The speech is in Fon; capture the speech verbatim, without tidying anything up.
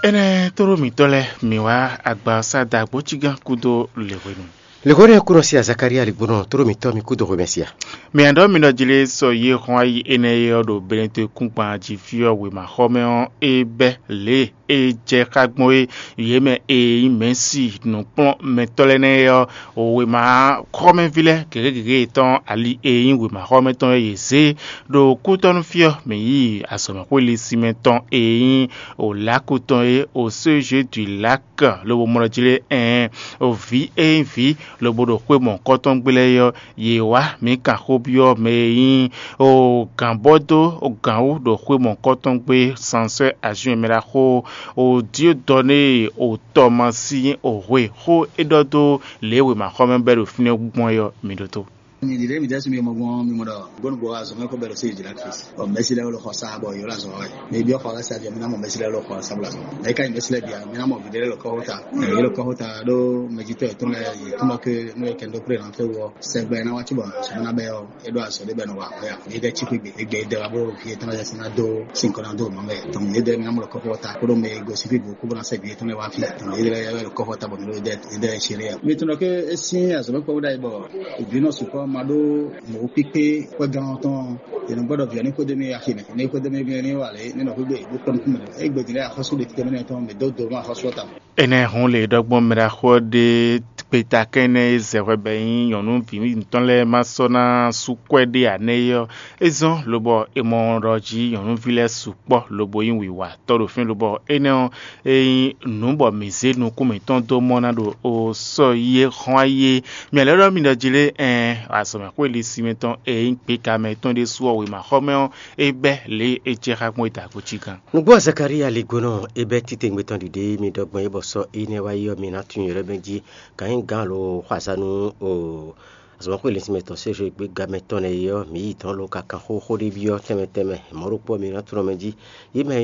Énɛ́ tlóló mǐtɔn lɛ́ɛ, mǐ wá agba ɔ́ sá da gbǒcígán kúdó lěhwenu. Lěhwenu ɔ́, kúnɔ sí Zakaria ligbónɔ tlóló mǐtɔn mi kúdó hwemɛ sia. Mǐ a ɖɔ mi ɖɔ jí lé sɔ yé hɔn ayi énɛ́ é ɔ́ ɖo Benetɔ́kúngban jí fí ɔ́ wěmaxɔmɛ ɔ́, é bɛ́ lě e é jɛ xá gbɔn é. Yě mɛ e nyí mɛ̌si nǔkplɔ́nmɛtɔ́ lɛ́ɛ nɛ́ é ɔ́, wěma xɔ́mɛví lɛ́ɛ gěgé gěgé yětɔn ali e nyí wěma xɔ́mɛ tɔn é yě zé ɖo kútɔ́nú fí ɔ́ mǐ yi azɔ̌mɛxwélisinmɛ tɔn e nyí Olako tɔn é, o Sojue du Lak, lobo mɔ ɖɔ jí lé ɛɛn, o vǐ e nyí vǐ lobo ɖo xwé mɔ̌hunkɔtɔn gblé ɔ́, yě wá mǐ kan xó byɔ́ mɛ e nyí o gǎnbɔ́ dó o gǎn wú ɖo xwé mɔ̌hunkɔtɔn gbé sanswɛ́ azɔn e mɛ ɖaxó o Diodɔnée o Tɔmasín o hwe xó é ɖɔ dó lě e wěmaxɔmɛ bɛ́ ɖo fínɛ́ gbɔn é ɔ́, mi ɖótó. Mi ɖiɖe mi dɛsu mi mɔ gbɔn mi mɔ ɖɔ gbɔnu gbɔ azɔn mɛ ko bɛ ɖo se jira kris. Ɔ mɛsi lɛ wolo xɔ sa bɔ yola zɔn wɛ. Mi biɔ xɔ lɛ sa jɔ mi na mɔ mɛsi lɛ wolo xɔ sa bla zɔn. Mɛ ka yi mɛsi lɛ bia mi na mɔ videre lɔ kɔho ta. Ye lɔ kɔho ta ɖo mɛjitɔ etɔn lɛ yi tuma ke no ye kɛndo pre na fe wɔ. Sɛgbɛ na wa ci bɔ sɔmɔ na bɛ ɔ. E ɖo azɔ de bɛ nɔ wa ya. Ye dɛ ci xwi gbe egbe dɛ wa bro fi etɔn lɛ sina do sin kɔna do ma mɛ. Tɔn ye dɛ mi na mɔ lɔ kɔho ta ko ɖo mɛ go si fi bo ko bɔ na sɛ bi etɔn lɛ wa fi. Tɔn ye dɛ lɛ kɔho ta bɔ mi ɖo ye dɛ ye dɛ sere ya. Mi tɔn ke esi azɔ bɛ kpɔ da yi bɔ. Vǐ nɔ sukɔ ma ɖó mɔ̌ kpíkpé xwé gán ɔ́ tɔn. Yě nɔ gbɔdɔ vǐ ɔ́ ní xwedó mì axi mɛ, ní xwedó mì ní wà lě ní nɔ xwé gbe bó kpɔ́n nukún mɛ. É gbedin lɛ́ɛ axɔ́sú ɖe títɛ mɛ tɔn mɛ dó dó mɔ axɔ́sú ɔ́ ta. Énɛ́ hun lě ɖɔgbɔn mɛɖaxó ɔ́ ɖe kpetakɛn énɛ́ e zɛ hwɛ bɔ é nyí nyɔ̌nu vǐ mǐtɔn lɛ́ɛ ma sɔ́ ná sú kwɛ́ ɖé ǎ nɛ́ é ɔ́, é zɔ́n lobɔ è mɔ ɖɔ jí nyɔ̌nuví lɛ́ɛ sukpɔ́ lobo nyí wǐwatɔ́ ɖo fínɛ́ lobɔ énɛ́ ɔ́, é nyí nǔ bɔ mǐ zé nukún mǐtɔn dó mɔ ná ɖo o sɔ́ yi e hɔn ayi é. Mǐ lɛ́ ɖɔ mi ɖɔ jí lé ɛɛn, azɔ̌mɛxwélisin mǐtɔn e nyí gběka mɛ tɔn ɖésú ɔ́ wěmaxɔmɛ ɔ́, é bɛ́ lě e é jɛ xá gbɔn é da gbo cí gán. Nǔgbó Zakalía ligbónɔ é bɛ́ títewungbe tɔn ɖiɖe mi ɖɔ gbɔn é bɔ sɔ́ énɛ́ wá yi ɔ́, mi ná tunwun yɔ̌ɖɔ́ mɛ jí. Gǎn nyí gǎn lo xɔ azǎn nú o azɔ̌mɛxwélisin mɛtɔn Sézwe gbéga mɛ tɔn lɛ́ɛ é ɔ́, mǐ yi dɔ̌n lo ka kan xóxó ɖé byɔ́ tɛnmɛ tɛnmɛ. Mɔ̌ ɖokpó ɔ́, mi ná tunwun mɛ jí. Yě mɛ